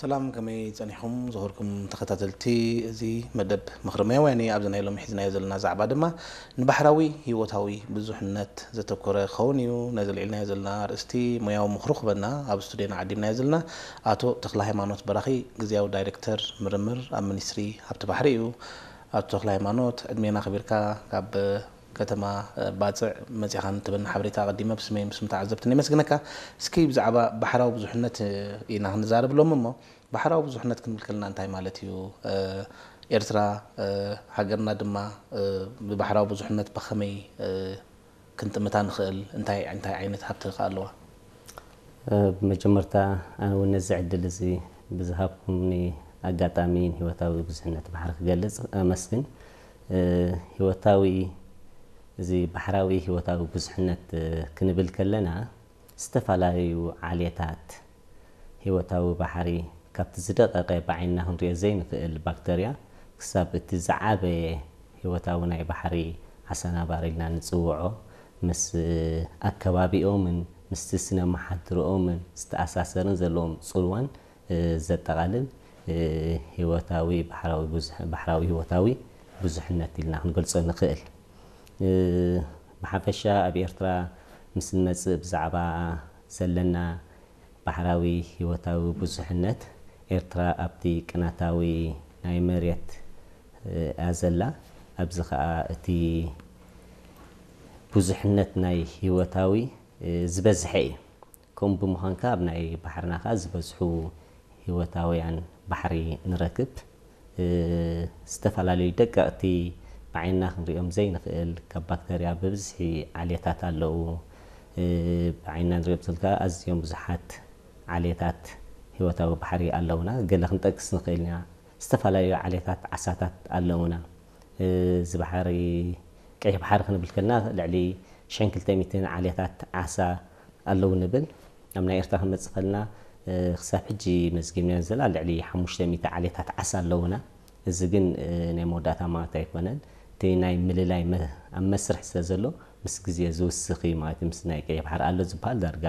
ሰላም፣ ከመይ ጸኒሕኩም ዝኸርኩም ተኸታተልቲ እዚ መደብ ምኽሪ ሞያውያን? ኣብዚ ናይ ሎሚ ሒዝናዮ ዘለና ዛዕባ ድማ ንባሕራዊ ህይወታዊ ብዙሕነት ዘተኮረ ክኸውን እዩ። ነዚ ልዒልናዮ ዘለና ኣርእስቲ ሞያዊ ምኽሩ ክበና ኣብ ስቱድዮና ዓዲምናዮ ዘለና ኣቶ ተኽለ ሃይማኖት በራኺ፣ ግዝያዊ ዳይሬክተር ምርምር ኣብ ሚኒስትሪ ሃብቲ ባሕሪ እዩ። ኣቶ ተኽለ ሃይማኖት፣ ዕድሜና ኣኽቢርካ ካብ ከተማ ባጽዕ መጺኻ ንትበና ሓበሬታ ኣቐዲመ ብስመይ ምስ ተዓዘብትን የመስግነካ። እስኪ ብዛዕባ ባሕራዊ ብዙሕነት ኢና ክንዛረብ ሎም እሞ፣ ባሕራዊ ብዙሕነት ክንብል ከለና እንታይ ማለት እዩ? ኤርትራ ሃገርና ድማ ብባሕራዊ ብዙሕነት ብኸመይ ክንጥምታ ንኽእል? እንታይ እንታይ ዓይነት ሃብቲ ከ ኣለዋ? ብመጀመርታ ኣነ እውን ነዚ ዕድል እዚ ብዝሃብኩምኒ ኣጋጣሚ ንህይወታዊ ብዙሕነት ባሕሪ ክገልጽ ኣመስግን። ህይወታዊ እዚ ባሕራዊ ህይወታዊ ብዙሕነት ክንብል ከለና ዝተፈላለዩ ዓሌታት ህይወታዊ ባሕሪ ካብቲ ዝደቐቐ ብዓይንና ክንሪኦ ዘይንኽእል ባክተርያ ክሳብ እቲ ዝዓበየ ህይወታዊ ናይ ባሕሪ ዓሳ ነባሪ ኢልና ንጽውዖ ምስ ኣከባቢኦምን ምስቲ ስነ መሓድርኦምን ዝተኣሳሰርን ዘለዎም ጽልዋን ዘጠቓልል ህይወታዊ ባሕራዊ ብዙሕ- ባሕራዊ ህይወታዊ ብዙሕነት ኢልና ክንገልጾ ንኽእል። ብሓፈሻ ኣብ ኤርትራ ምስ ንመጽእ ብዛዕባ ዘለና ባሕራዊ ህይወታዊ ብዙሕነት ኤርትራ ኣብቲ ቅናታዊ ናይ መሬት እያ ዘላ። ኣብዚ ኸኣ እቲ ብዙሕነት ናይ ህይወታዊ ዝበዝሐ እዩ። ከምኡ ብምዃን ከኣ ኣብ ናይ ባሕርና ከኣ ዝበዝሑ ህይወታውያን ባሕሪ ንረክብ። ዝተፈላለዩ ደቀቕቲ ብዓይንና ክንሪኦም ዘይንኽእል ካብ ባክተርያ ብብዝሒ ዓሌታት ኣለዉ። ብዓይንና ንሪኦም ዘለና ኣዝዮም ብዙሓት ዓሌታት ህይወታዊ ባሕሪ ኣለዉና። ገለ ክንጠቅስ ንኽእል ኢና። ዝተፈላለዩ ዓሌታት ዓሳታት ኣለዉና። እዚ ባሕሪ ቀይሕ ባሕሪ ክንብል ከለና ልዕሊ ሽሕን ክልተ ሚእትን ዓሌታት ዓሳ ኣለዉ ንብል። ኣብ ናይ ኤርትራ ክንመጽእ ከለና ክሳብ ሕጂ መዝጊብናዮ ዘለና ልዕሊ ሓሙሽተ ሚእቲ ዓሌታት ዓሳ ኣለዉና። እዚ ግን ናይ መወዳእታ ማለት ኣይኮነን። እቲ ናይ ምልላይ መ- ኣብ መስርሕ ስለ ዘሎ ምስ ግዜ ዝውስኽ እዩ ማለት እዩ። ምስ ናይ ቀይሕ ባሕሪ ኣሎ ዝበሃል ዳርጋ